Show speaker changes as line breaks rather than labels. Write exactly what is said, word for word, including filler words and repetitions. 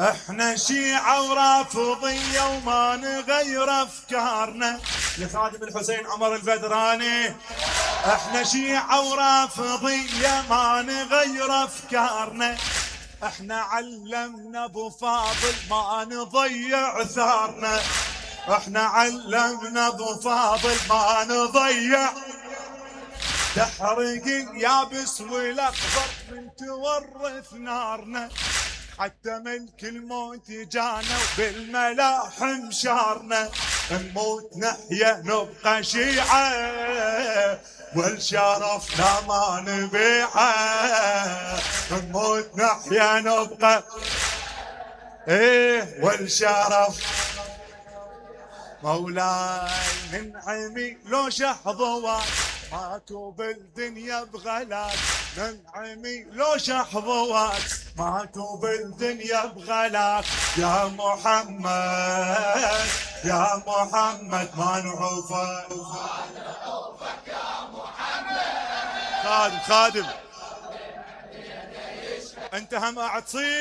احنا شيعة ورافضية وما نغير افكارنا. لخادم الحسين عمر البدراني. احنا شيعة ورافضية ما نغير افكارنا. احنا علمنا ابو فاضل ما نضيع ثارنا. احنا علمنا ابو فاضل ما نضيع. تحرق اليابس والاخضر من تورث نارنا. حتى ملك الموت جانا وبالملاحم شارنا. نموت نحيا نبقى شيعة والشرفنا ما نبيعه. نموت نحيا نبقى ايه والشرف. مولاي ننعمي لو شحظوات ماكو بالدنيا بغلاك. ننعمي لو شحظوات ماكو بالدنيا بغلاك. يا محمد يا محمد ما نعوفك. ما نعوفك يا محمد. خادم خادم انت هم قاعد تصيح.